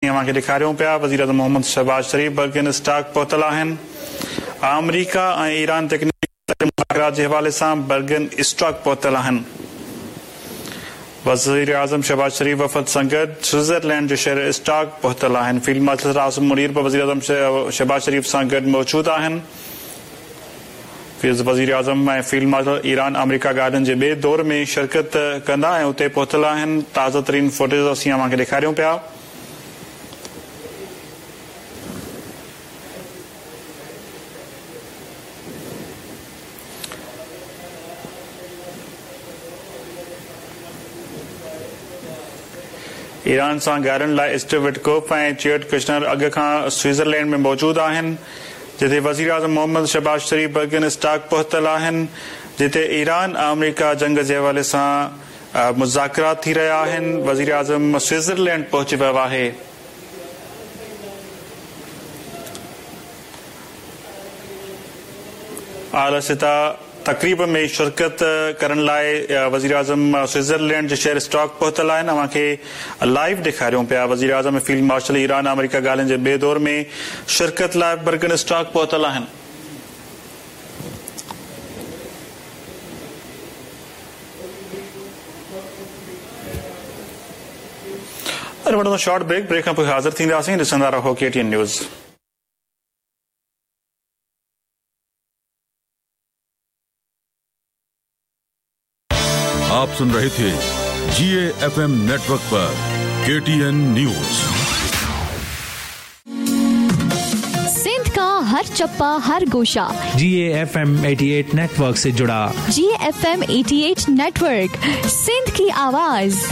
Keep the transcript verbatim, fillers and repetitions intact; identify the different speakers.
Speaker 1: اوهان کي ڏيکاريون پيا. وزير اعظم मोहम्मद शहबाज शरीफ बर्गन स्टॉक पहुतल आहिनि। आमेरिका ऐं ईरान तकनीकी मुज़ाकिरात जे हवाले सां बर्गन स्टॉक पहुतल आहिनि। वज़ीर आज़म शहबाज शरीफ वफ़द सां गॾु स्विट्ज़रलैंड जे शहर स्टॉक पहुतल आहिनि। फील्ड मार्शल आसिम मुनीर बि वज़ीर आज़म शहबाज शरीफ सां गॾु मौजूदु आहिनि। वज़ीर आज़म ऐं फील्ड मार्शल ईरान आमेरिका ॻाल्हियुनि जे ॿिए दौर में शिरकत कंदा ऐं उते पहुतल आहिनि। ताज़ा तरीन फुटेज असीं अव्हांखे ॾेखारियूं पिया। ईरान सां ॻाल्हाइण लाइ स्टीव विटकोफ ऐं चेयर्ड कुशनर अॻु खां स्विट्ज़रलैंड में मौजूदु आहिनि, जिते वज़ीर आज़म मोहम्मद शहबाज शरीफ बर्गन स्टॉक पहुतल आहिनि, जिते ईरान आमेरिका जंग जे हवाले सां मुज़ाकिरात थी रहिया आहिनि। वज़ीर आज़म स्विट्ज़रलैंड पहुची वियो आहे। आला सतह तक़रीब में शिरकत करण लाइ वज़ीर आज़म स्विट्ज़रलैंड जे शहर स्टॉक पहुतल आहिनि। अव्हांखे लाइव ॾेखारियूं पिया। वज़ीर आज़म फील्ड मार्शल ईरान आमेरिका ॻाल्हियुनि जे ॿिए दौर में शिरकत लाइ बर्गन स्टॉक पहुतल आहिनि। वठंदा शॉर्ट ब्रेक, ब्रेक खां पोइ हाज़िर थींदासीं। ॾिसंदा रहो के टी एन न्यूज़।
Speaker 2: आप सुन रहे थे G A F M network पर के टी एन न्यूज।
Speaker 3: सिंध का हर चप्पा हर गोशा
Speaker 4: G A F M अठासी नेटवर्क से जुड़ा।
Speaker 3: G F M अठासी नेटवर्क, सिंध की आवाज।